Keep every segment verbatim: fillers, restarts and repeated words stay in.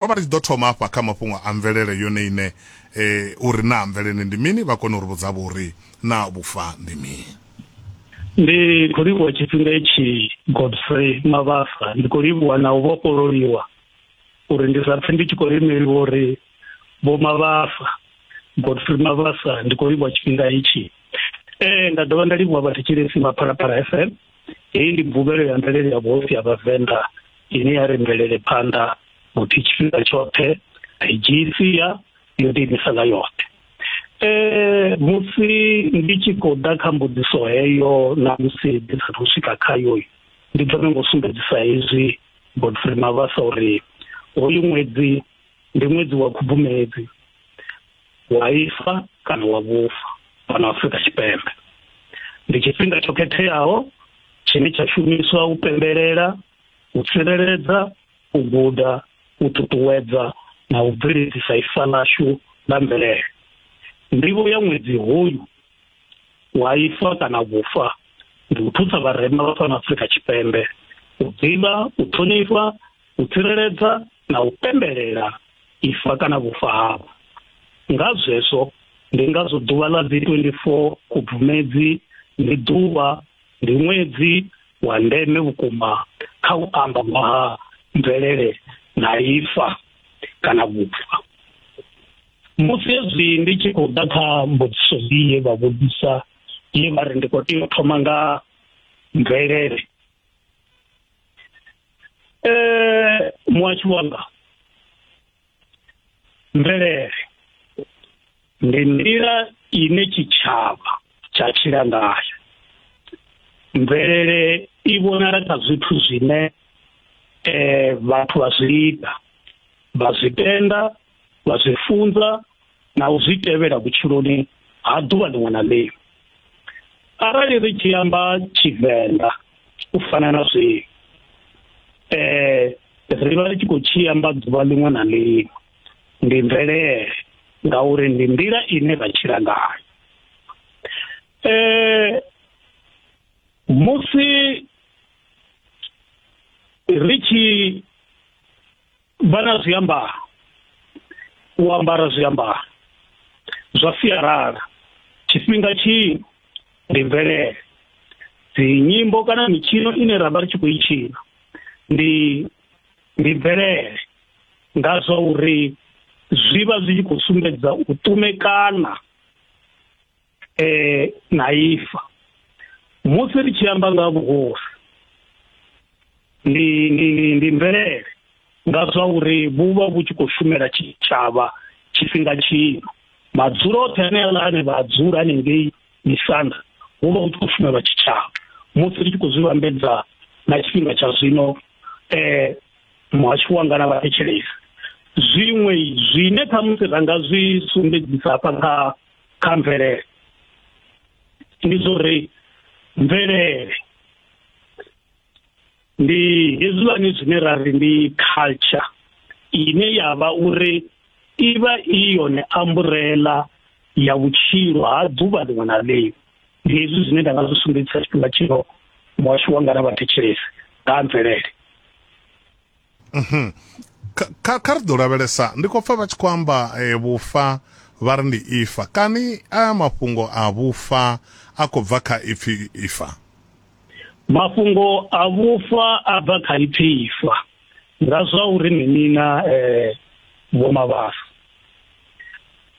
Ro vha ri tshi ḓo thoma hafha kha mafhungo a mvelele yone ine eh, uri naa mvelele ndi mini, vha kone u ri vhudza vho uri naa vhufa ndi mini. Ndi khou livhuwa tshifhinga itshi Godfrey Mabasa, ndi khou livhuwa na u vhofhololiwa uri ndi sa pfe ndi tshi khou limeliwa uri Vho Mabasa, Godfrey Mabasa, ndi khou livhuwa tshifhinga itshi. Eh nda dovha nda livhuwa vhathetshelesi vha Phalaphala F M. Heyi ndi mvuvhelo ya mvelele ya vhuhosi ya Vhavenḓa ine ya ri mvelele phanḓa vhuthi tshifhinga tshoṱhe, a i dzhii sia, yo ḓiimisela yoṱhe. Eh musi ndi tshi khou ḓa kha mbudziso heyo na musi ndi sathu swika khayo, ndi thome ngo sumbedzisa hezwi Godfrey Mabasa uri hoyu ṅwedzi ndi ṅwedzi wa Khubvumedzi, wa ifa kana wa vhufa fhano Afrika Tshipembe. Ndi tshifhinga tsho khetheaho tshine tsha shumiswa u pembelela, u tsireledza, u guda, u ṱuṱuwedza na u bveledzisa ifa ḽashu ḽa mvelele. Ndivho ya ṅwedzi hoyu wa ifa kana vhufa ndi u thusa vharema vha fhano Afrika Tshipembe u ḓivha, u ṱhonifha, u tsireledza na u pembelela ifa kana vhufa havho. Nga zwezwo ndi ngazwo ḓuvha ḽa dzi twenty-four Khubvumedzi ndi ḓuvha, ndi ṅwedzi wa ndeme vhukuma kha u amba nga ha mvelele na ifa kana vhufa. Musi hezwi ndi tshi khou ḓa kha mbudziso ye vha vhudzisa, ye vha ri ndi khou tea u thoma nga mvelele. Eh muhasho wanga, mvelele ndi nḓila ine tshitshavha tsha tshila ngayo. Mvelele i vhonala kha zwithu zwine eh vhathu vha zwi ita, vha zwi tenda, vha zwi funza na u zwi tevhela vhutshiloni ha ḓuvha ḽiṅwe na ḽiṅwe. Arali ri tshi amba Tshivenḓa u fana na zwino, eh ri vha ri tshi khou tshi amba ḓuvha ḽiṅwe na ḽiṅwe, ndi mvelele ngauri ndi nḓila ine ra tshila ngayo. Eh musi ri tshi vha na zwiambaro, u ambara zwiambaro zwa sialala tshifhinga tshino ndi mvelele. Dzi nyimbo kana mitshino ine ra vha ri tshi khou i tshina ndi ndi mvelele, nga zwa uri zwi vha zwi tshi khou sumbedza u ṱumekana eh na ifa. Musi ri tshi amba nga vhuhosi ndi ndi ndi mvelele, nga zwa uri vhu vha vhu tshi khou shumela tshitshavha tshifhinga tshino. Madzulo oṱhe ane aḽa ane vha dzula hanengei misanda hu vha hu tshi khou shumelwa tshitshavha. Musi ri tshi khou zwi vhambedza na tshifhinga tsha zwino, eh muhasho wanga na vhathetshelesi, zwiṅwe zwine khamusi ra nga zwi sumbedzisa hafha kha kha mvelele ndi zwo uri mvelele ndi hezwiḽani zwine ra ri ndi culture, ine ya vha uri i vha i yone umbrella ya vhutshilo ha ḓuvha ḽiṅwe na ḽiṅwe. Ndi hezwi zwine nda nga zwi sumbedzisa tshifhinga tshino muhasho wanga na vhathetshelesi nga mvelele. Mhm. Kha kha ri ḓo lavhelesa, ndi khou pfa vha tshi khou amba eh, vhufa vha ri ndi ifa. Kani aya mafhungo a vhufa a khou bva kha ipfi ifa? Mafhungo a vhufa a bva kha ipfi ifa nga zwa uri minina eh Vho Mabasa,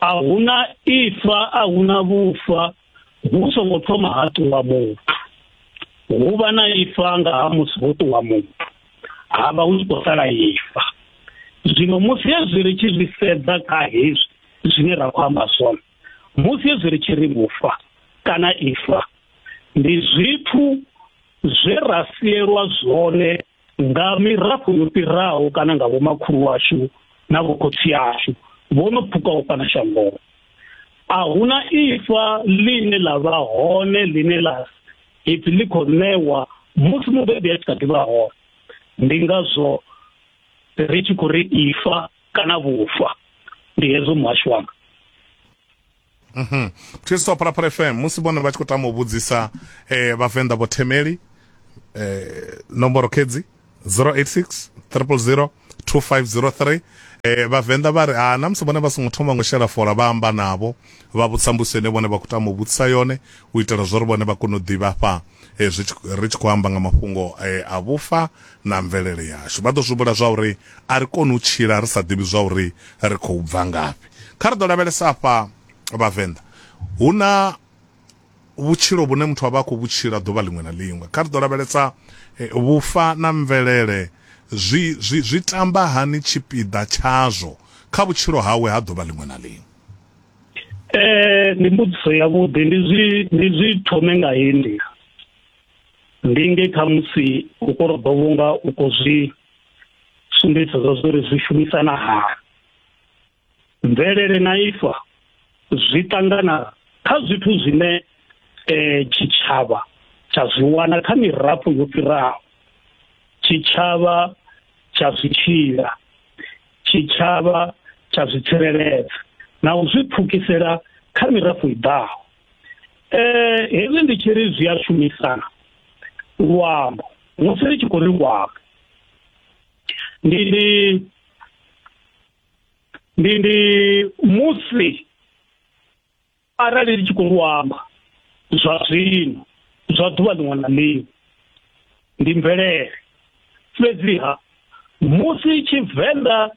a huna ifa, a huna vhufa hu songo thoma ha ṱuwa muthu. Hu vha na ifa nga ha musi ho ṱuwa muthu, ha vha hu tshi khou sala ifa. Zwino musi hezwi ri tshi zwi sedza kha hezwi zwine ra khou amba zwone, musi hezwi ri tshi ri vhufa kana ifa ndi zwithu zwe ra sielwa zwone nga mirafho yo fhiraho kana nga vhomakhulu washu na vhokhotsi ashu vho no pfukaho fhano shangoni. A huna ifa ḽine ḽa vha hone ḽine ḽa ipfi ḽi khou ṋewa musi mubebi a tshi kha ḓi vha hone. Ndi ngazwo ri tshi khou ri ifa kana vhufa. Ndi hezwo muhasho wanga. Mhm. Thetshelesi wa Phalaphala F M, musi vhone vha tshi khou tama u vhudzisa eh Vhavenḓa Vho Themeli, eh nomboro kedzi zero eight six triple zero two five zero three. Eh Vhavenḓa vha ri a na musi vhone vha songo thoma ngo shela fola vha amba navho vha vhudzisa mbudziso ine vhone vha khou tama u vhudzisa yone u itela zwa uri vhone vha kone u ḓivha afha zwi ri tshi khou amba nga mafhungo a vhufa na mvelele yashu. Vha ḓo zwi humbula zwa uri a ri koni u tshila ri sa ḓivhi zwa uri ri khou bva ngafhi. Kha ri ḓo lavhelesa afha Vhavenḓa hu na vhutshilo vhune muthu a vha a khou vhutshila ḓuvha ḽiṅwe na ḽiṅwe. Kha ri ḓo lavhelesa vhufa na mvelele zwi zwi zwi tamba hani tshipiḓa tshazwo kha vhutshilo hawe ha ḓuvha ḽiṅwe na ḽiṅwe. Eh ndi mbudziso ya vhuḓi, ndi zwi ndi zwi thome nga heyi nḓila. Ndi nge kha musi u korobo vhunga u khou zwi sumbedzisa zwa uri zwi shumisana hani. Mvelele na ifa zwi ṱangana kha zwithu zwine eh tshitshavha tsha zwi wana kha mirafho yo fhiraho, tshitshavha tsha zwi tshila, tshitshavha tsha zwi tsireledza na u zwi pfukisela kha mirafho i ḓaho. Eh hezwi ndi tshi ri zwi a shumisana, luambo musi ri tshi khou ri luambo ndi ndi ndi ndi musi arali ri tshi khou luamba zwa zwino zwa ḓuvha ḽiṅwe na ḽiṅwe ndi mvelele. Fhedziha musi Tshivenḓa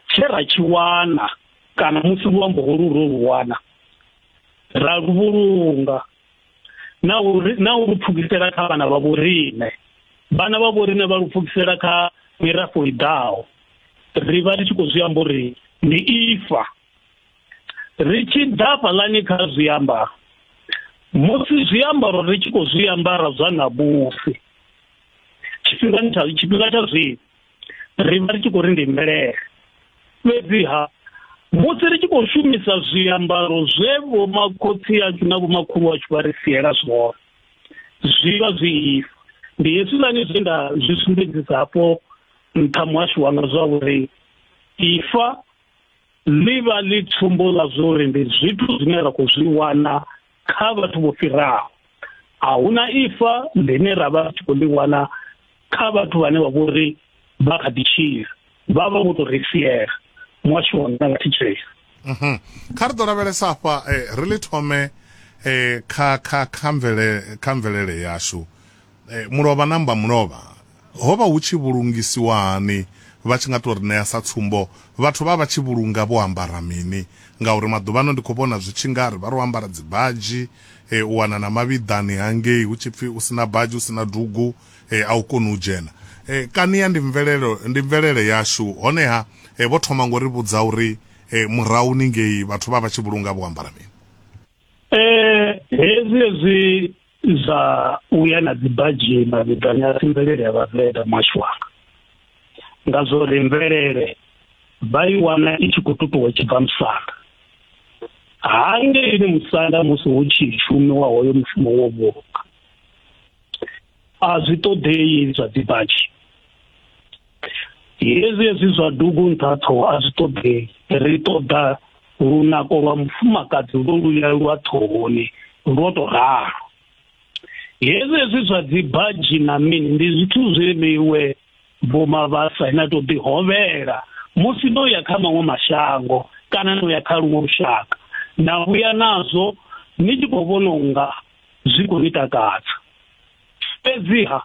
tshe ra tshi wana kana musi luambo holu ro lu wana ra lu vhulunga na uri na u lu pfukisela kha vhana vha vhoriṋe, vhana vha vhoriṋe vha lu pfukisela kha mirafho i ḓaho, ri vha ri tshi khou zwi amba uri ndi ifa. Ri tshi ḓa fhaḽani kha zwiambaro, musi zwiambaro ri tshi khou zwi ambara zwa ṋamusi tshifhingani tsha tshifhinga tsha zwino ri vha ri tshi khou ri ndi mvelele. Fhedziha musi ri tshi khou shumisa zwiambaro zwe vhomakhotsi ashu na vhomakhulu ashu vha ri siela zwone, zwi vha zwi ifa. Ndi hezwiḽani zwe nda zwi sumbedzisa hafho nṱha muhasho wanga zwa uri ifa ḽi vha ḽi tsumbo ḽa zwa uri ndi zwithu zwine ra khou zwi wana kha vhathu vho fhiraho. A huna ifa ḽine ra vha tshi khou ḽi wana kha vhathu vhane vha vhori vha kha ḓi tshila, vha vha vho tou ri siela. Muhasho wanga na vhathetshelesi. Mhm. Kha ri ḓo lavhelesa afha ri ḽi thome kha kha kha mvelele kha mvelele yashu. Mulovha na mba mulovha ho vha hu tshi vhulungisiwa hani? Vha tshi nga tou ri ṋea sa tsumbo, vhathu vha vha tshi vhulunga vho ambara mini? Ngauri maḓuvhano ndi khou vhona zwi tshi nga ri vha ro ambara dzi badzhi, u wana na mavhiḓani hangei hu tshi pfi u sina badzhi u sina dugu a u koni u dzhena. Kani ya ndi mvelelo ndi mvelele yashu. Honeha vho thoma ngo ri vhudza uri murahuni ngei vhathu vha vha tshi vhulunga vho ambara mini? Eh hezwi hezwi zwa uya na dzi badzhi mavhiḓani a si mvelele ya Vhavenḓa muhasho wanga, nga zwo ri mvelele vha i wana i tshi khou tutuwa i tshi bva musanda. Hangeini musanda musi hu tshi shumiwa hoyo mushumo wo vhulunga a zwi ṱoḓei zwa dzi badzhi. Hezwi hezwi zwa dugu nṱha ṱhoho a zwi ṱoḓei, ri ṱoḓa lunako lwa mufumakadzi lwo luya lwa ṱhohoni lwo to ralo. Hezwi hezwi zwa dzi badzhi na mini ndi zwithu zwe miwe vho Mavhasa ina to ḓi hovhela musi no ya kha maṅwe mashango kana no ya kha luṅwe lushaka na vhuya nazwo ni tshi khou vhona unga zwi khou ni takadza. Fhedziha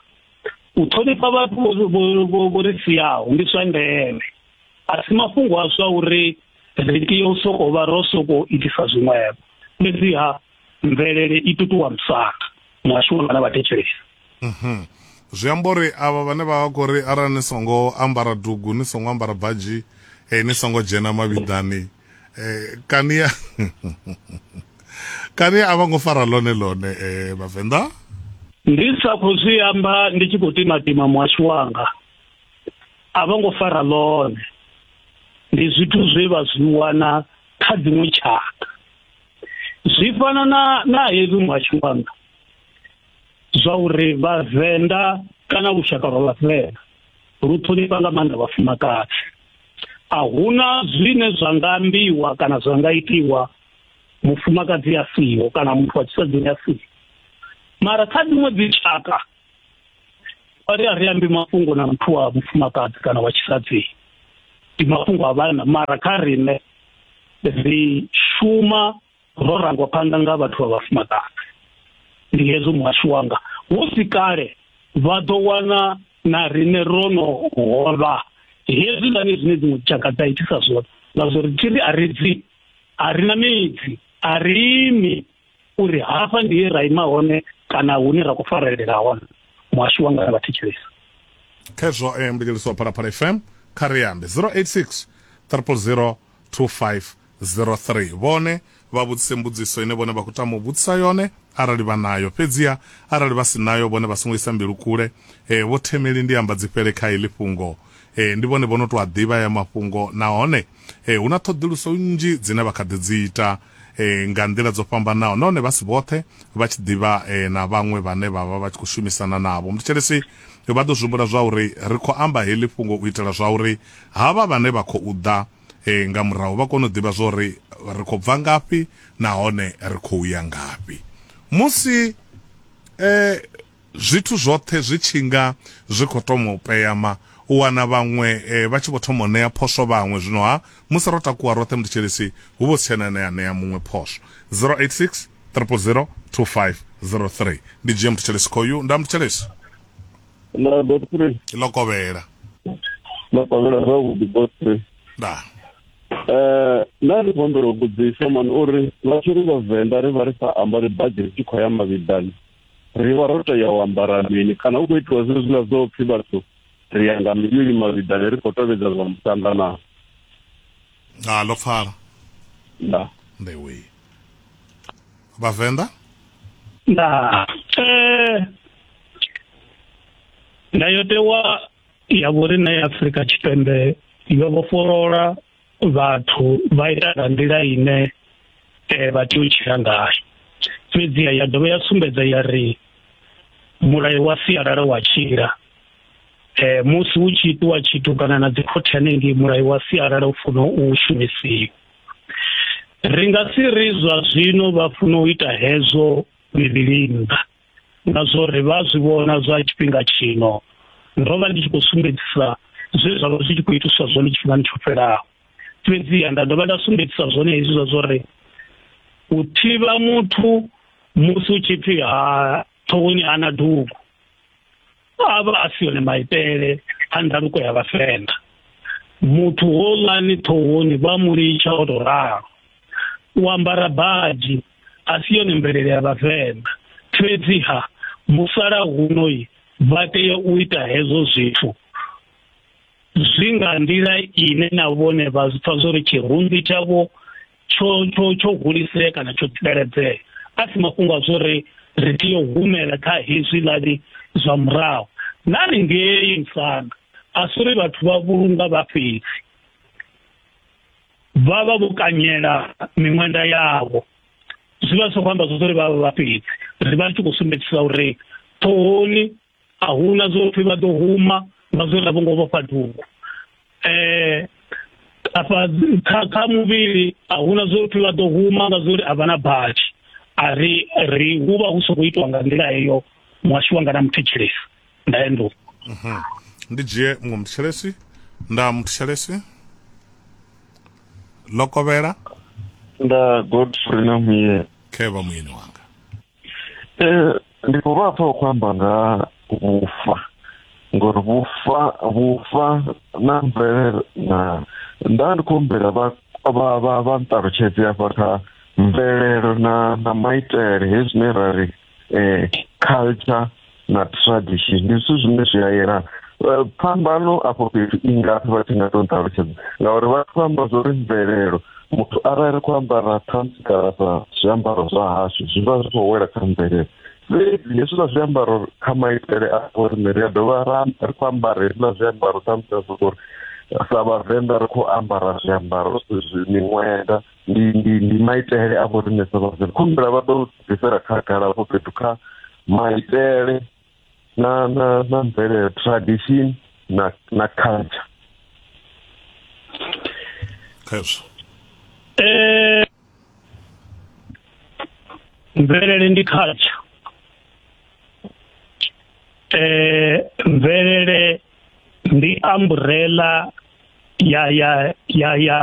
u ṱhonifha vhathu vho ri siaho ndi zwa ndeme, a si mafhungo a zwa uri ri tea u sokou vha ro sokou itisa zwiṅwevho. Fhedziha mvelele i tutuwa musanda. Muhasho wanga na vhathetshelesi. Mhm. Zwi amba uri avha vhane vha vha khou ri arali ni songo ambara dugu ni songo ambara badzhi eh, ni songo dzhena mavhiḓani eh, kani ya kani a vha ngo fara ḽone ḽone eh, Vhavenḓa? Ndi sa khou zwi amba ndi tshi khou timatima muhasho wanga, a vha ngo fara ḽone. Ndi zwithu zwe vha zwi wana kha dziṅwe tshaka. Zwi fana na na hezwi muhasho wanga zwa uri Vhavenḓa kana lushaka lwa Vhavenḓa lu ṱhonifha nga maanḓa vhafumakadzi. A huna zwine zwa nga ambiwa kana zwa nga itiwa mufumakadzi a siho kana muthu wa tshisadzini a siho. Mara kha dziṅwe dzi tshaka vha ri a ri ambi mafhungo na muthu wa mufumakadzi kana wa tshisadzini. Ndi mafhungo a vhanna, mara kha riṋe ri shuma ro rangwa phanḓa nga vhathu vha vhafumakadzi. Ndi hezwo muhasho wanga, hu si kale vha ḓo wana na riṋe ro no hovha hezwiḽani zwine dziṅwe tshaka dza itisa zwone, nga zwo ri tshi ri a ri dzi a ri na midzi, a ri imi uri hafha ndi he ra ima hone kana hune ra khou farelela hone. Muhasho wanga vha thetshelesa khezwo. Eh, mbidzeliso Phalaphala F M kha ri ambe zero eight six triple zero two five zero three. Vhone vha vhudzise mbudziso ine vhone vha khou tama u vhudzisa yone arali vha nayo, fhedziha arali vha si nayo vhone vha songo isa mbilu kule. Eh, vho Themeli ndi amba dzi fhele kha iḽi fhungo. Eh, ndi vhone vho no tou a ḓivha ya mafhungo, nahone eh, hu na ṱhoḓuluso nnzhi dzine vha kha ḓi dzi ita eh, nga nḓila dzo fhambanaho, nahone vha si vhoṱhe vha tshi ḓivha eh, na vhaṅwe vhane vha vha vha tshi khou shumisana navho. Mthetshelesi vha ḓo zwihumbula zwa uri ri khou amba heḽi fhungo u itela zwa uri havha vhane vha khou ḓa eh, nga murahu vha kone u ḓivha zwa uri ri khou bva ngafhi nahone ri khou ya ngafhi. Musi eh, zwithu zwoṱhe zwi tshinga zwi khou thoma u peyama, u wana vhaṅwe eh, vha tshi vho thoma u ṋea phoswo vhaṅwe. Zwino ha musi ro takuwa roṱhe mthetshelesi hu vho si tshena ane a ṋea muṅwe phoswo. zero eight six triple zero two five zero three. Ndi dzhie mthetshelesi khoyu. Nda mthetshelesi nda Godfrey ḽo kovhela. Ḽo kovhela zwavhuḓi Godfrey. Nda eh nda ndi khou humbela u vhudzisa mani uri vha tshi ri vhavenḓa ri vha ri sa ambari badzhi ri tshi khou ya mavhiḓani, ri vha ro tea u ambara mini? Kana hu khou itiwa zwezwiḽa zwo pfhi vhathu ri ya nga mivhili mavhiḓani ri khou tovhedza zwa musanda na? A ḽo pfala. Nda ndewe vhavenḓa. Nda eh ndayotewa ya vhoriṋe ya Afrika Tshipembe yo vhofholola vhathu vha ita nga nḓila ine eh, vha tea u tshila ngayo. Fhedziha ya dovha ya sumbedza ya ri mulayo wa sialala wa tshila. Eh, musi hu tshi itiwa tshithu kana na dzikhothe hanengei, mulayo wa sialala u funa u shumisiwa. Ri nga si ri zwa zwino vha funa u ita hezwo mivhili nnḓa, nga zwo ri vha zwi vhona zwa tshifhinga tshino. Ndo vha ndi tshi khou sumbedzisa zwe zwa vha zwi tshi khou itiswa zwone tshifhingani tsho fhelaho, fhedziha nda dovha nda sumbedzisa zwone hezwi zwa zwo ri u thivha muthu musi u tshi pfhi ha ṱhohoni hana dugu a vha a si yone maitele a ndaluko ya vhavenḓa. Muthu houḽani ṱhohoni vha mu litsha o tou ralo. U ambara badzhi a si yone mvelele ya vhavenḓa, fhedziha musalauno vha tea u ita hezwo zwithu zwi nga nḓila ine na vhone vha zwi pfa zwo ri tshirunzi tshavho tsho tsho tsho hulisea kana tsho tsireledzea. A si mafhungo a zwo ri ri tea u humela kha hezwiḽani zwa murahu. Na haningei musanda a si uri vhathu vha vhulunga vha fhedzi, vha vha vho kanyela miṅwenda yavho. Zwi vha zwi khou amba zwo ri vha vha vha fhedzi. Ri vha ri tshi khou sumbedzisa uri ṱhohoni a huna zwo pfhi vha ḓo huma nga zwo ri a vho ngo vhofha dugu. Eh, afha kha kha muvhili a huna zwo pfhi vha ḓo huma nga zwo ri a vha na badzhi. A ri ri hu vha hu sokou itiwa nga nḓila heyo. Muhasho wanga na muthetshelesi nda endo. Mhm. Ndi dzhie muṅwe muthetshelesi. Nda muthetshelesi ḽo kovhela. Nda Godfrey na muye khe vha muyeni wanga. Eh, ndi khou vha pfa u khou amba nga vhufa, ngori vhufa vhufa na mvelele na nda ndi khou humbela vha vha vha vha nṱalutshedze hafha kha mvelelo na na maitele hezwi zwine ra ri eh, culture na tradition ndi zwithu zwine zwi a yelana. Phambano afho fhethu i ngafhi vha tshi nga tou nṱalutshedza? Ngauri vha khou amba zwo ri mvelelo, muthu arali ri khou ambara ṱhamusi kana sa zwiambaro zwa hashu zwi vha zwi khou wela kha mvelelo, fhedzi hezwiḽa zwiambaro kha maitele a vhoriṋe ri a dovha ra ri khou ambara hezwiḽa zwiambaro ṱhamusi a soko uri sa vhavenḓa ri khou ambara zwiambaro miṅwenda, ndi ndi ndi maitele a vhoriṋe sa vhavenḓa. Khumbela vha ḓo bvisela khagala afho fhethu kha maitele na na na mvelele, tradition na na culture. Khezwo eh mvelele ndi culture. Eh mvelele ndi umbrella ya ya ya ya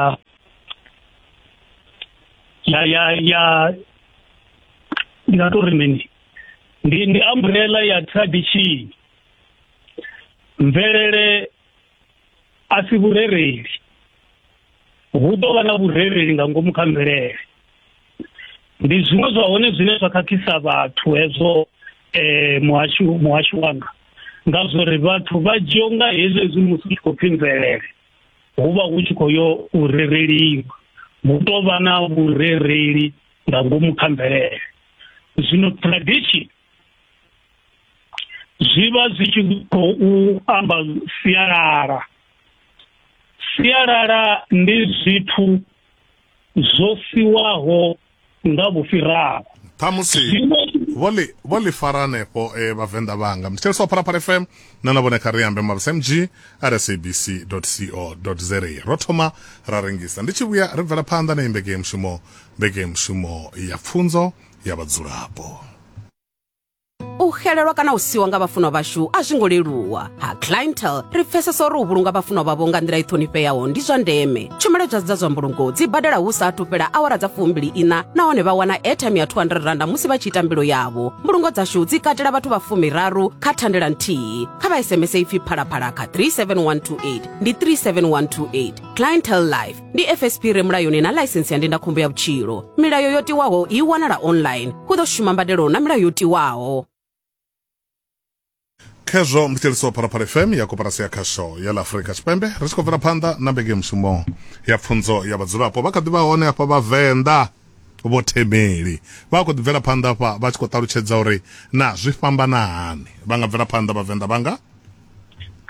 ya ya ya ndi nga tori mini ndi ndi umbrella ya tradition. Mvelele a si vhurereli, hu ḓo vha na vhurereli nga ngomu kha mvelele. Ndi zwiṅwe zwa hone zwine zwa khakhisa vhathu hezwo eh muhashu muhashu wanga, nga zwori vhathu vha dzhia nga hezwo hezwi musi hu tshi khou pfi mvelele hu vha hu tshi khou yo u rereliwa, hu tou vha na vhurereli nga ngomu kha mvelele. Zwino tradition zwi vha zwi tshi khou amba sialala. Sialala ndi zwithu zwo siwaho nga vhufhiraho. Ṱhamusi vho ḽi vho ḽi fara hanefho eh, vhavenḓa vhanga. Mthetshelesi wa Phalaphala F M na na vhone kha ri ambe mabasa mg at s a b c dot co dot za. Ro thoma ra rengisa, ndi tshi vhuya ri bvela phanḓa na mbekanyamushumo mbekanyamushumo ya pfunzo ya vhadzulapo. U xelelwa kana u siwa nga vhafunwa vhashu a zwi ngo leluwa. Ha Clientele ri pfesesa uri u vhulunga vhafunwa vhavho nga nḓila i ṱhonifheaho ndi zwa ndeme. Tshumelo dza dza zwa mbulungo dzi badela hu sa athu fhela awara dza fumbili ina, nahone vha wana airtime ya two hundred rand musi vha tshi ita mbilo yavho. Mbulungo dzashu dzi katela vhathu vha fumiraru kha thandela nthihi. Kha vha S M S ipfi Phalaphala kha three seven one two eight, ndi three seven one two eight. Clientele Life ndi F S P re mulayoni na ḽaisensi ya ndindakhombo ya vhutshilo. Milayo yo tiwaho i wanala online. Hu ḓo shuma mbadelo na milayo yo tiwaho. Khezwo mthetshelesi wa Phalaphala F M ya koporasi ya khasho ya ḽa Afrika Tshipembe, ri tshi khou bvela phanḓa na mbekanyamushumo ya pfunzo ya vhadzulapo. Vha kha ḓi vha hone hafha vhavenḓa vho Themeli, vha khou ḓi bvela phanḓa hafha vha tshi khou ṱalutshedza uri na zwi fhambana hani. Vha nga bvela phanḓa vhavenḓa vhanga?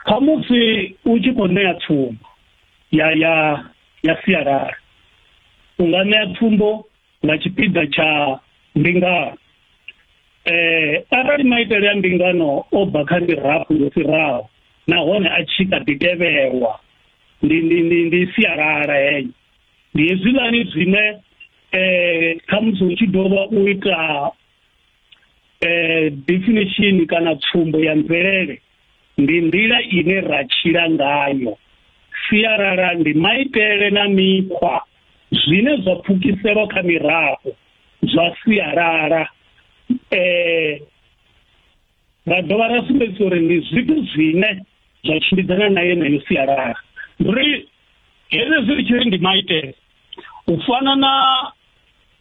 Khamusi u tshi khou ṋea tsumbo ya ya ya sialala, u nga ṋea tsumbo nga tshipiḓa tsha mbingano. Eh arali maitele ya mbingano o bva kha mirafho yo fhiraho nahone a tshi kha ḓi tevhelwa, ndi ndi ndi ndi sialala heyo. Ndi hezwiḽani zwine eh khamusi hu tshi dovha u ita eh definition kana tsumbo ya mvelele, ndi nḓila ine ra tshila ngayo. Sialala ndi maitele na mikhwa zwine zwa pfukiselwa kha mirafho zwa sialala. Eh ra dovha ra sumbedzisa uri ndi zwithu zwine zwa tshimbidzana na yeneyo sialala. Ndi hezwi ri tshi ri ndi maitele u fana na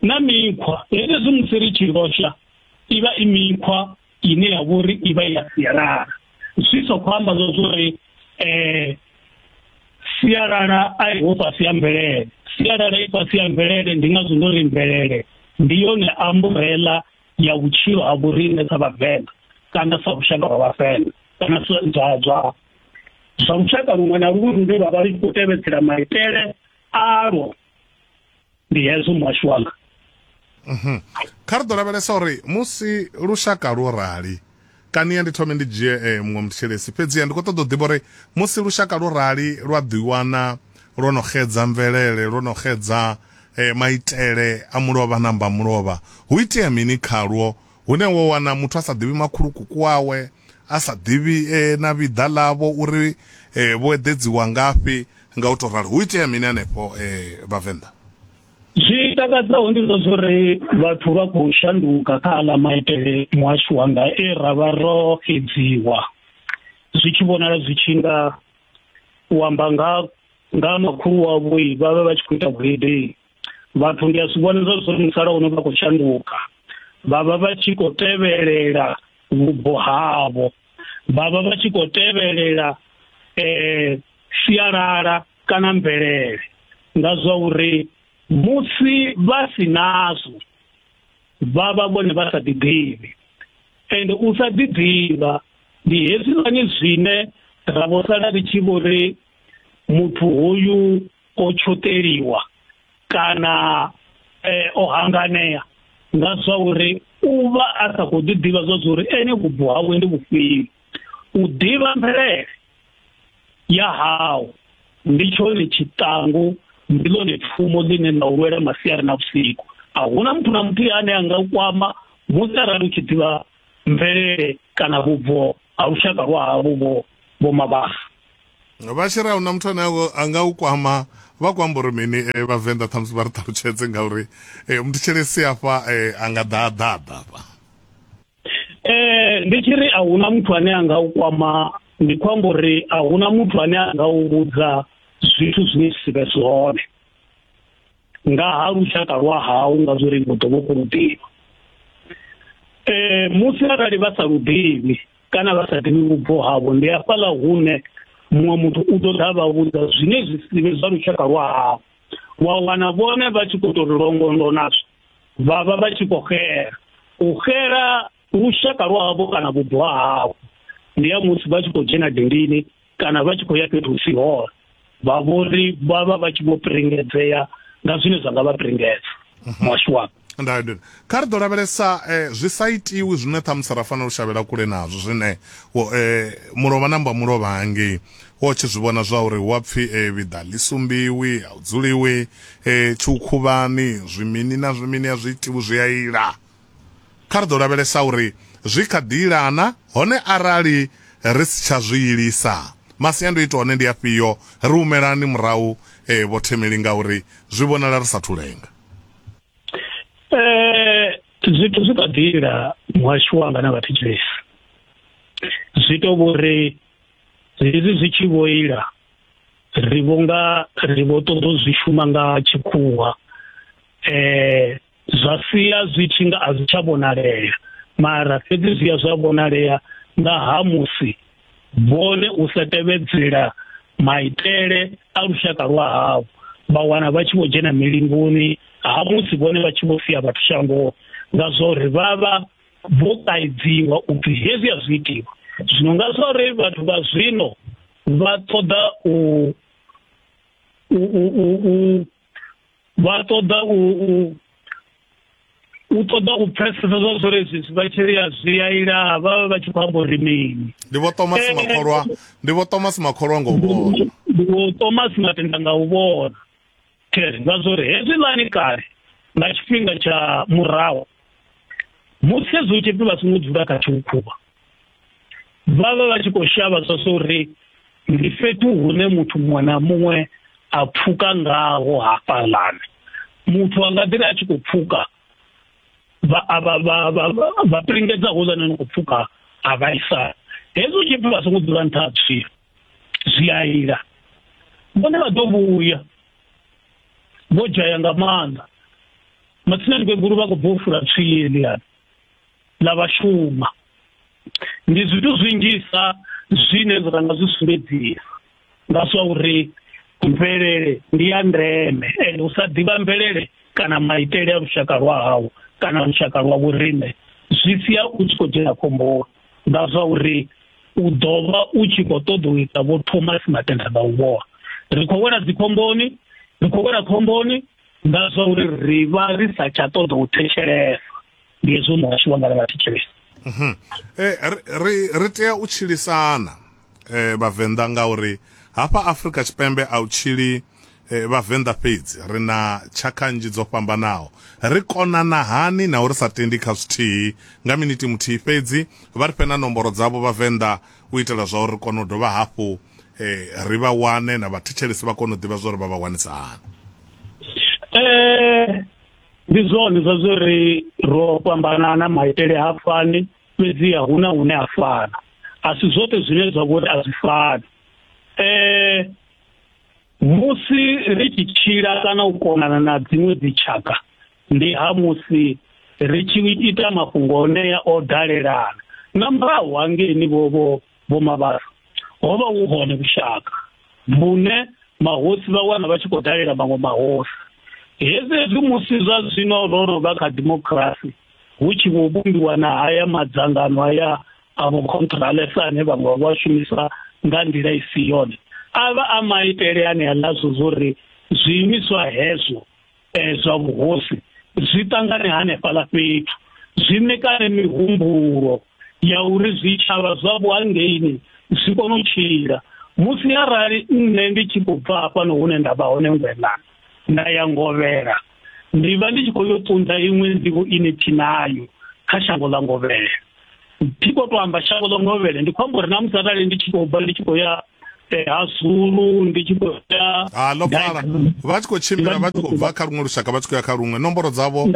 na mikhwa, hezwi musi ri tshi losha i vha i mikhwa ine ya vhori i vha ya sialala. Zwi sa khou amba zwa uri eh sialala a i ho fhasi ya mvelele. Sialala i fhasi ya mvelele, ndi ngazwo ndo ri mvelele ndi yone umbrella ya vhutshilo ha vhoriṋe sa vhavenḓa kana sa lushaka lwa vhavenḓa kana zwa zwa zwa lushaka luṅwe na luṅwe lune lwa vha lu khou tevhedzela maitele alwo. Ndi hezwo muhasho wanga. Kha ri ḓo lavhelesa uri musi lushaka lwo rali, kani ndi thome ndi dzhie eh, muṅwe muthetshelesi, fhedziha ndi khou ṱoḓa u ḓivha uri musi lushaka lwo rali lwa ḓiwana lwo no xedza mvelele, lwo no xedza eh, maitele a mulovha na mba mulovha, hu itea mini khalwo hune wo wana muthu a sa ḓivhi makhulukuku wawe, a sa ḓivhi eh, na vhiḓa ḽavho uri eh, vho eḓedziwa ngafhi, nga u tou rali hu itea mini hanefho eh, vhavenḓa? Zwi takadzaho ndi zwa uri vhathu vha khou shanduka kha aḽa maitele muhasho wanga e ra vha ro xedziwa, zwi tshi vhonala zwi tshi nga u amba nga nga makhulu wavho vha vha vha tshi khou ita vhuhedeni. Vhathu ndi a zwi vhona zwa uri musalauno vha khou shanduka, vha vha vha tshi khou tevhelela vhubvo havho, vha vha vha tshi khou tevhelela eh sialala kana mvelele, nga zwa uri musi vha si nazwo vha vha vhone vha sa ḓiḓivhi. Ende u sa ḓiḓivha ndi hezwiḽani zwine ra vho sala ri tshi vho ri muthu hoyu o tshoṱeliwa kana eh, o hanganea, nga zwa uri u vha a sa khou ḓiḓivha zwa uri ene vhubvo hawe ndi vhufhio. U ḓivha mvelele ya hau ndi tshone tshiṱangu, ndi ḽone pfumo ḽine ḽa u lwela masiari na vhusiku. A huna muthu na muthihi ane a nga u kwama musi arali u tshi ḓivha mvelele kana vhubvo ha lushaka lwa havho vho vho Mabasa. Vha tshi ri a huna muthu ane a nga u kwama vha khou amba uri mini Vhavenḓa ṱhamusi vha ri ṱalutshedze ngauri muthetshelesi afha a nga ḓa ḓa ḓa afha. Eh ndi tshi ri a huna muthu ane a nga u kwama, ndi khou amba uri a huna muthu ane a nga u vhudza zwithu zwine zwi si vhe zwone nga ha lushaka lwa hau, nga zwo ri vho ḓo vho khou ḓivha. Eh musi arali vha sa lu ḓivhi kana vha sa ḓivhi vhubvo havho, ndi hafhaḽa hune muṅwe muthu u ḓo ḓa vha vhudza zwine zwi si vhe zwa lushaka lwa havho, wa wana vhone vha tshi khou tou ri longondo nazwo, vha vha vha tshi khou xela. U xela lushaka lwa havho kana vhubvo havho ndi ya musi vha tshi khou dzhena dindini kana vha tshi khou ya fhethu hu si hone, vha vhori vha vha vha tshi vho piringedzea nga zwine zwa nga vha piringedza muhasho wanga. Nda kha ri ḓo lavhelesa zwi sa itiwi zwine ṱhamusi ra fanela u shavhela kule nazwo, zwine mulovha namba mulovha hangei wo tshi zwi vhona zwa uri wa pfhi vhiḓa ḽi sumbiwi, a u dzuliwi tshiukhuvhani, zwimini na zwimini a zwi itiwi, zwi a ila. Kha ri ḓo lavhelesa uri zwi kha ḓi ilana, hone arali ri si tsha zwi ilisa masiandoitwa hone ndi afhio, ri humelani murahu vho Themeli ngauri zwi vhonala ri sathu lenga. Eh zwithu zwi kha ḓi ila muhasho wanga na vhathetshelesi, zwi to vhori hezwi zwi tshi vho ila ri vhonga ri vho ṱoḓa u zwi shuma nga tshikhuwa, eh zwa sia zwi tshi nga a zwi tsha vhonalea, mara fhedzi zwi ya zwa vhonalea nga ha musi vhone u sa tevhedzela maitele a lushaka lwa havho, vha wana vha tshi vho dzhena milingoni ha musi vhone vha tshi vho sia vhathu shangoni, nga zwori vha vha vho kaidziwa upfhi hezwi a zwi itiwa. Zwino nga zwori vhathu vha zwino vha ṱoḓa u u u vha ṱoḓa u u ṱoḓa u pfesesa zwa zwori zwi vha tshi ri a zwi a ila, vha vha tshi khou amba uri mini. Ndi vho Thomas Makholwa, ndi vho Thomas Makholwa ngo vhona, ndi vho Thomas Matenda nga u vhona. Nga zwori hezwiḽani kale nga tshifhinga tsha murahu musi hezwi hu tshi pfhi vha songo dzula kha tshiukhuvha, vha vha vha tshi khou shavha zwa uri ndi fhethu hune muthu muṅwe na muṅwe a pfuka ngaho hafhaḽani, muthu a nga ḓi ri a tshi khou pfuka vha vha vha vha piringedza houḽani no khou pfuka a vhaisala. Hezwi hu tshi pfhi vha songo dzula nṱha ha tswio zwi a ila, vhone vha ḓo vhuya vho dzhaya nga maanḓa. Matsina ndikwegulu vha khou bva u fula tswii heḽiani ḽa vha shuma. Ndi zwithu zwinzhisa zwine ra nga zwi sumbedzisa nga zwa uri mvelele ndi ya ndeme, ende u sa ḓivha mvelele kana maitele a lushaka lwa hau kana lushaka lwa vhoriṋe zwi sia u tshi khou dzhena khomboni, nga zwa uri u ḓo vha u tshi khou ṱoḓa u ita vho Thomas Matenda nga u vhona. Ri khou wela dzikhomboni, ri khou wela khomboni nga zwa uri ri vha ri sa tsha ṱoḓa u thetshelesa. Ndi hezwo muhasho wanga na vhathetshelesi. Eh ri ri tea u tshilisana eh Vhavenḓa ngauri hafha Afrika Tshipembe a u tshili Vhavenḓa fhedzi, ri na tshakha nnzhi dzo fhambanaho. Ri konana hani na uri sa tendi kha zwithihi? Nga miniti muthihi fhedzi vha ri fhe na nomboro dzavho Vhavenḓa u itela zwa uri ri kone u dovha hafhu ri vha wane na vhathetshelesi vha kone u ḓivha zwa uri vha vha wanisa hani. Eh ndi zwone zwa zwori ro fhambanana, maitele ha fani, fhedzi huna hune a fana, a si zwoṱhe zwine zwa vhori a zwi fani. Eh musi ri tshi tshila kana u konana na dziṅwe dzitshaka ndi ha musi ri tshi ita mafhungo onea o dalelana. Nga murahu hangeini vho vho vho Mabasa ho vha hu hone vhushaka vhune mahosi vha wana vha tshi khou dalela maṅwe mahosi. Hezwi hezwi musi zwa zwino ro ro vha kha democracy hu tshi vho vhumbiwa na haya madzangano haya a vho controlesa ane vhaṅwe vha shumisa nga nḓila i si yone, a vha a maitele ane a ḽa zwo uri zwiimiswa hezwo zwa vhuhosi zwi ṱangane hanefhaḽa fhethu, zwi ṋekane mihumbulo ya uri zwitshavha zwavho hangeini zwi kone u tshila. Musi arali nṋe ndi tshi khou bva hafhano hune nda vha hone Ngwenani nda ya Ngovhela, ndi vha ndi tshi khou yo ṱunḓa iṅwe nḓivho ine thi nayo kha shango ḽa Ngovhela. Thi khou tou amba shango ḽa Ngovhela, ndi khou amba uri na musi arali ndi tshi khou bva ndi tshi khou ya ha Zulu, ndi tshi khou ya ha ḽo pfala vha tshi khou tshimbila vha tshi khou bva kha luṅwe lushaka vha tshi khou ya kha luṅwe. Nomboro dzavho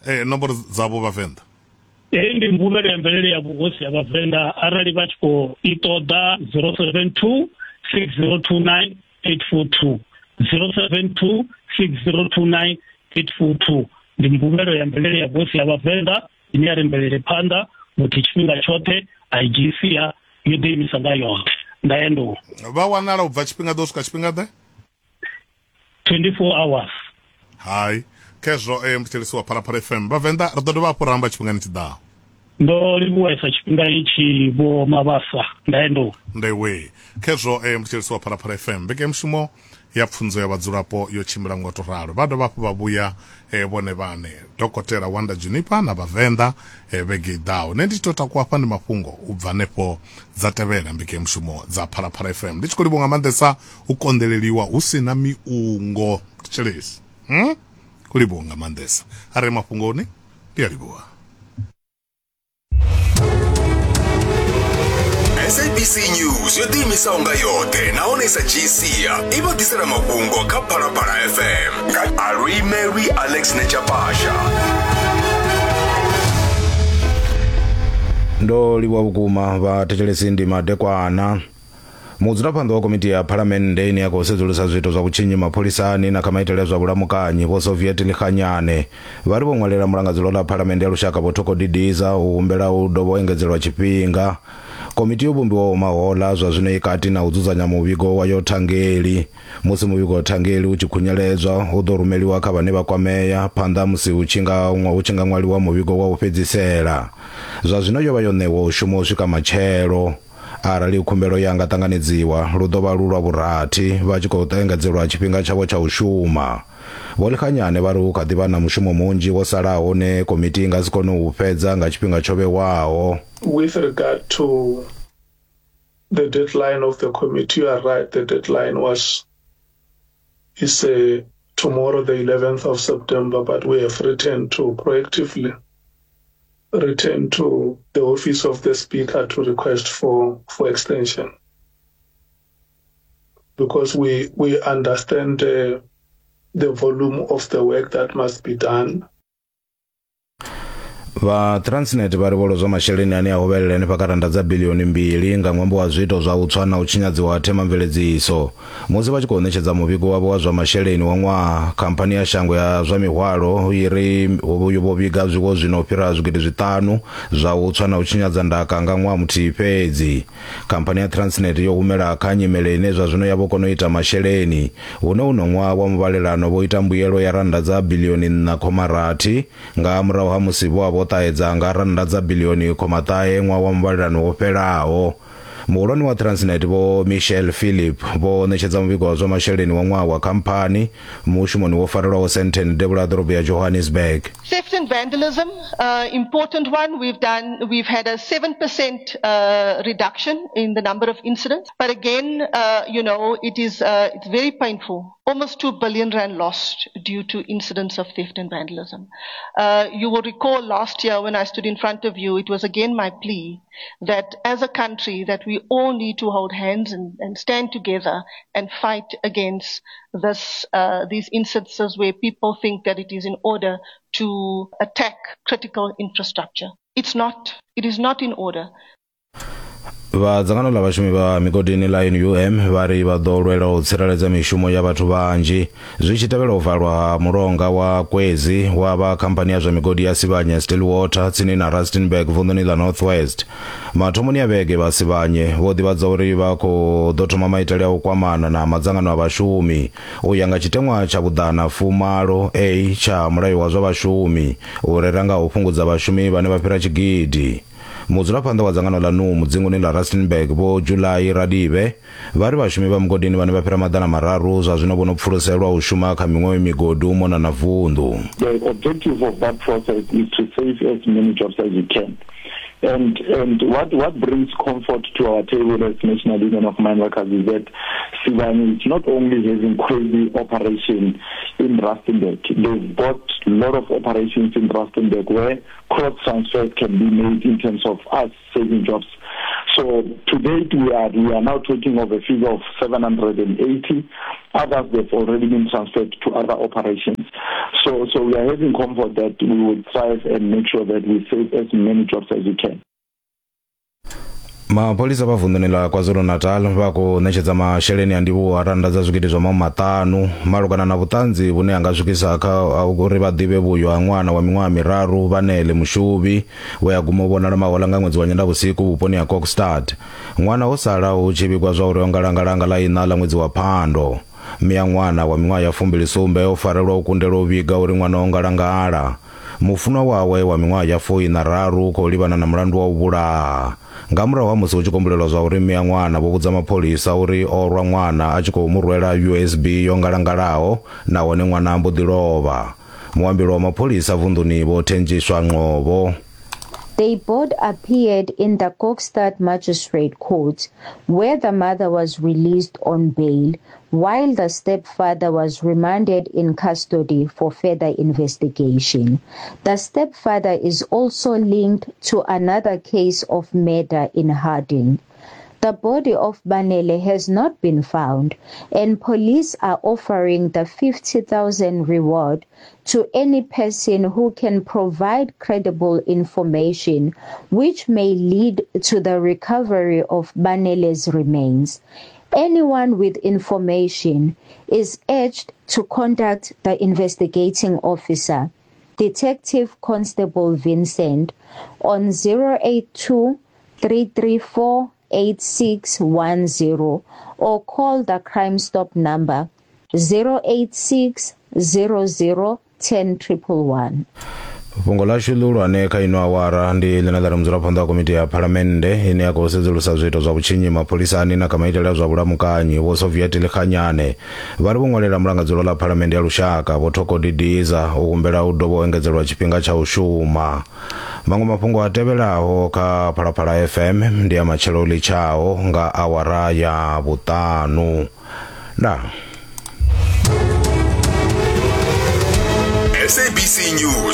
eh nomboro dzavho Vhavenḓa. Heyi ndi mvumelo ya mvelele ya vhuhosi ya Vhavenḓa, arali vha tshi khou i ṱoḓa zero seven two six zero two nine eight four two, zero seven two six zero two nine eight four two. Ndi mvumelo ya mvelele ya vhuhosi ya Vhavenḓa ine ya ri mvelele phanḓa muthu tshifhinga tshoṱhe a i dzhii sia yo ḓiimisa nga yoṱhe. Ndaendo vha wanala u bva tshifhinga ḓo swika tshifhinga ḓe? twenty-four hours. Hai khezwo eh mthetshelesi wa Phalaphala F M Vhavenḓa ri ḓo dovha hafhu ra amba tshifhingani tshiḓaho. Ndo livhuwesa tshifhinga itshi Vho Mabasa. Ndaendo ndewe khezwo eh mthetshelesi wa Phalaphala F M mbekanyamushumo ya pfunzo ya vhadzulapo yo tshimbila ngo to ralo. Vha dovha hafhu vha vhuya eh, vhone vhane Dokotela Wanda Juniper na Vhavenḓa eh, vhege i ḓaho. Nṋe ndi tshi to takuwa hafha ndi mafhungo u bva hanefho dza tevhela mbekanyamushumo dza Phalaphala F M. Ndi tshi khou livhuwa nga maanḓesa u konḓeleliwa hu si na miungo thetshelesi. Hmm? Khou livhuwa nga maanḓesa. Arali mafhungoni ndi a livhuwa. S A B C News yo ḓiimisaho nga yoṱhe nahone sa G C i vha ḓisela mafhungo kha Phalaphala F M nga Aluimelwi Alex Nechapasha. Ndo livhuwa vhukuma vhathetshelesi, ndi madekwana. Mudzulaphanḓa wa komiti ya phalamennde ine ya khou sedzulusa zwiito zwa vhutshinyi mapholisani na kha maitele a zwa vhulamukanyi Vho Soviet Lekganyane vha ri vho ṅwalela mulangadzulo ḽa phalamennde ya lushaka Vho Thoko Didiza u humbela u dovha u engedzelwa tshifhinga. Komiti yo vhumbiwaho mahola zwa zwino i kati na u dzudzanya muvhigo wayo thangeli. Musi muvhigo wa thangeli u tshi khunyeledzwa u ḓo rumeliwa kha vhane vha kwamea phanḓa musi hu tshi nga hu tshi nga ṅwaliwa muvhigo wa u fhedzisela. Zwa zwino yo vha yo ṋewa u shuma u swika matshelo. Arali khumbelo ya nga ṱanganedziwa lu ḓo vha lu lwa vhurathi vha tshi khou engedzelwa tshifhinga tshavho tsha u shuma. Vho Lekganyane vha ri hu kha ḓi vha na mushumo munzhi wo salaho une komiti i nga si kone u fhedza nga tshifhinga tsho vhewaho. With regard to the deadline of the committee, you are right, the deadline was is uh, tomorrow, the eleventh of September, but we have written to proactively return to the office of the speaker to request for, for extension, because we, we understand uh, the volume of the work that must be done. Vha Transnet vha ri vho lozwa masheleni ane a hovhelela henefha kha randa dza bilioni mbili nga ṅwambo wa zwiito zwa u tswa na u tshinyadziwa ha themamveledziso. Musi vha tshi khou ṋetshedza muvhigo wavho wa zwa masheleni wa ṅwaha, khamphani ya shango ya zwa mihwalo i ri vho vhiga zwiwo zwino fhira zwigidi zwiṱanu zwa u tswa na u tshinyadza ndaka nga ṅwaha muthihi fhedzi. Khamphani ya Transnet yo humela kha nyimele ine zwa zwino ya vho kona u ita masheleni, hune uno ṅwaha wa muvhalelano vho ita mbuyelo ya randa dza bilioni nṋa khoma rathi nga murahu ha musi vho vho ṱahedza nga randa dza bilioni khoma ṱahe ṅwaha wa muvhalelano wo fhelaho. Muhulwane wa Transnet Vho Michelle Philip vho ṋetshedza muvhigo wa zwa masheleni wa ṅwaha wa khamphani mushumoni wo farelwaho Sandton devhula ha ḓorobo ya Johannesburg. Theft and vandalism, uh, important one. We've done, we've had a seven percent uh, reduction in the number of incidents. But again, uh, you know, it is, uh, it's very painful. Almost two billion rand lost due to incidents of theft and vandalism. Uh, you will recall last year when I stood in front of you, it was again my plea that as a country that we all need to hold hands and, and stand together and fight against this, uh, these instances where people think that it is in order to attack critical infrastructure. It's not. It is not in order. Vha dzangano ḽa vhashumi vha migodini ḽa N U M vha ri vha ḓo lwela u tsireledza mishumo ya vhathu vhanzhi zwi tshi tevhela u valwa ha mulonga wa Kwezi wa vha khamphani ya zwa migodi ya Sibanye Stillwater tsini na Rustenburg vunḓuni ḽa North West. Mathomoni a vhege vha Sibanye vho ḓivhadza uri vha khou ḓo thoma maitele a u kwamana na madzangano a vhashumi u ya nga tshiteṅwa tsha vhuḓana fumalo A tsha mulayo wa zwa vhashumi u rera nga u fhungudza vhashumi vhane vha fhira tshigidi. Mudzulaphanḓa wa dzangano ḽa N U M dzinguni ḽa Rustenburg Vho July Radibe vha ri vhashumi vha mugodini vhane vha fhira maḓana mararu zwa zwino vho no pfuluselwa u shuma kha miṅwe migodi u mona na vunḓu. The objective of that process is to save as many jobs as we can. And and what, what brings comfort to our table as National Union of Mine Workers is that Sibanye is not only having crazy operation in Rustenburg, they've got a lot of operations in Rustenburg where cross transfers can be made in terms of us saving jobs. So to date, we are, we are now talking of a figure of seven hundred eighty. Others, they've already been transferred to other operations. So, so we are having comfort that we will thrive and make sure that we save as many jobs as we can. Mapholisa vha vunḓuni ḽa KwaZulu-Natal vha khou ṋetshedza masheleni a ndivhuwo a rannda dza zwigidi zwa mahumimaṱanu malugana na vhuṱanzi vhune ha nga swikisa kha uri vha ḓivhe vhuyo ha ṅwana wa miṅwaha miraru Vhanele Mushubi we a guma u vhonala mahola nga ṅwedzi wa Nyendavhusiku vhuponi ha Kokstad. Ṅwana o sala hu tshi vhigwa zwa uri o ngalangala nga ḽa iṋa ḽa ṅwedzi wa Phando. Mme a ṅwana wa miṅwaha ya fumbili sumbe o farelwa u kundelwa u vhiga uri ṅwana o ngalangala. Mufunwa wawe wa miṅwaha ya fuiṋa raru u khou livhana na mulandu wa u vhulaha. Nga murahu ha musi hu tshi kombulelwa zwa uri mme a ṅwana vho vhudza mapholisa uri o rwa ṅwana a tshi khou mu rwela U S B yo ngalangalaho nahone ṅwana a mbo ḓi lovha. Muambeli wa mapholisa vunḓuni Vho Thenjiswa Ngcobo. They both appeared in the Kokstad Magistrate Court, where the mother was released on bail, while the stepfather was remanded in custody for further investigation. The stepfather is also linked to another case of murder in Harding. The body of Banele has not been found, and police are offering the fifty thousand reward to any person who can provide credible information which may lead to the recovery of Banele's remains. Anyone with information is urged to contact the investigating officer, Detective Constable Vincent, on zero eight two, three three four, eight six one zero or call the Crime Stop number zero eight six zero zero ten triple one. Fhungo ḽashu ḽihulwane kha ino awara ndi ḽine ḽa ri mudzulaphanḓa wa komiti ya phalamennde ine ya khou sedzulusa zwiito zwa vhutshinyi mapholisani na kha maitele a zwa vhulamukanyi Vho Soviet Lekganyane vha ri vho ṅwalela mulangadzulo ḽa phalamennde ya lushaka Vho Thoko Didiza u humbela u dovha u engedzelwa tshifhinga tsha u shuma. Maṅwe mafhungo a tevhelaho kha Phalaphala F M ndi a matshelo ḽitshaho nga awara ya vhuṱanu. Ndaa. S A B C News